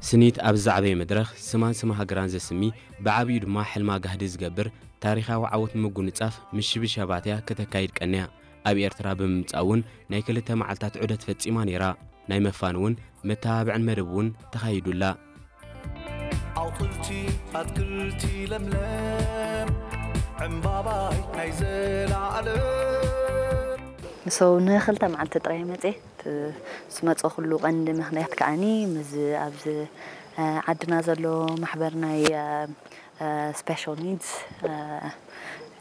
ስኒት ኣብ ዝዓበየ መድረኽ ስማን ስም ሃገራን ዘስሚ፣ ብዓብዩ ድማ ሕልማ ጋህዲ ዝገብር ታሪኻዊ ዓወት ንምጉንጻፍ ምሽብሻባት እያ ከተካይድ ቀንያ። ኣብ ኤርትራ ብምምጻእ እውን ናይ ክልተ መዓልታት ዑደት ፈጺማ ነይራ። ናይ መፋን እውን መተባብዕን መደብ እውን ተኻይዱላ። ኣውፅልቲ ኣትክልቲ ለምለም ዕምባባይ ናይ ዘላለም። ንሰው ንክልተ መዓልቲ ጥራይ መፅእ ዝመፀ ኩሉ ቀንዲ ምክንያት ከዓኒ ምዝ ኣብዚ ዓድና ዘሎ ማሕበር ናይ ስፔሻል ኒድስ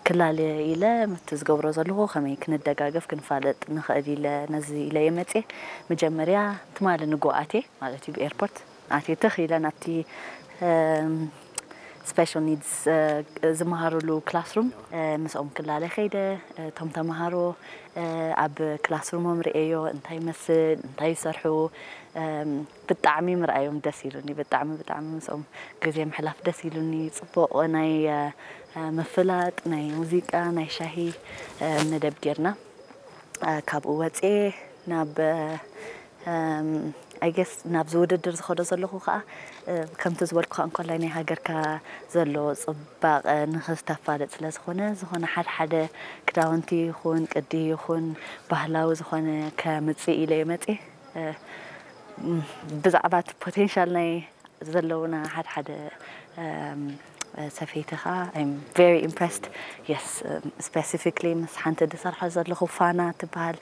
ክላለ ኢለ ምቲ ዝገብሮ ዘለኹ ከመይ ክንደጋገፍ ክንፋለጥ ንኽእል ኢለ ነዚ ኢለ እየ መፅየ። መጀመርያ ትማሊ ንጎኣቴ ማለት እዩ ብኤርፖርት ኣትየ ትኽ ኢለ ናብቲ ስፔሻል ኒድስ ዝመሃሩሉ ክላስሩም ምስኦም ክላለ ከይደ። እቶም ተምሃሮ ኣብ ክላስሩሞም ርእየዮ እንታይ ይመስል እንታይ ይሰርሑ ብጣዕሚ ምርኣዮም ደስ ኢሉኒ። ብጣዕሚ ብጣዕሚ ምስኦም ግዜ ምሕላፍ ደስ ኢሉኒ። ፅቡቕ ናይ ምፍላጥ ናይ ሙዚቃ ናይ ሻሂ መደብ ጌርና። ካብኡ ወፅየ ናብ ኣይገስ ናብዚ ውድድር ዝኸዶ ዘለኹ ከዓ ከምቲ ዝበልኩ ከዓ እንኮላይ ናይ ሃገርካ ዘሎ ፅባቐ ንክስተፋለጥ ስለ ዝኾነ ዝኾነ ሓደ ሓደ ክዳውንቲ ይኹን ቅዲ ይኹን ባህላዊ ዝኾነ ከምፅእ ኢለ እየ መፅየ። ብዛዕባ እቲ ፖቴንሻል ናይ ዘለውና ሓደ ሓደ ሰፈይቲ ከዓ I'm very impressed። Yes, specifically ምስ ሓንቲ ዝሰርሖ ዘለኹ ፋና ትበሃል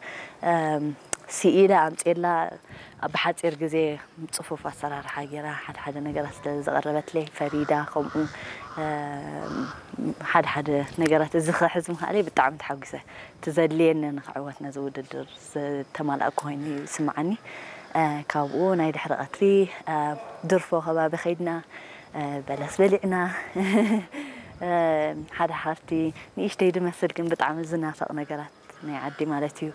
ስኢለ ኣምፅኤላ ብሓፂር ግዜ ፅፉፍ ኣሰራርሓ ገይራ ሓደ ሓደ ነገራት ስለ ዘቕረበትለይ ፈሪዳ ከምኡ ሓደ ሓደ ነገራት እዚ ክሕዝ ምኽኣለይ ብጣዕሚ ተሓጒሰ። እቲ ዘድልየኒ ንክዕወት ነዚ ውድድር ዝተማላእኩ ኮይኑ ይስምዓኒ። ካብኡ ናይ ድሕሪ ቀትሪ ድርፎ ከባቢ ከይድና በለስ በሊዕና ሓደ ሓርቲ ንእሽተይ ድመስል ግን ብጣዕሚ ዝናፈቕ ነገራት ናይ ዓዲ ማለት እዩ።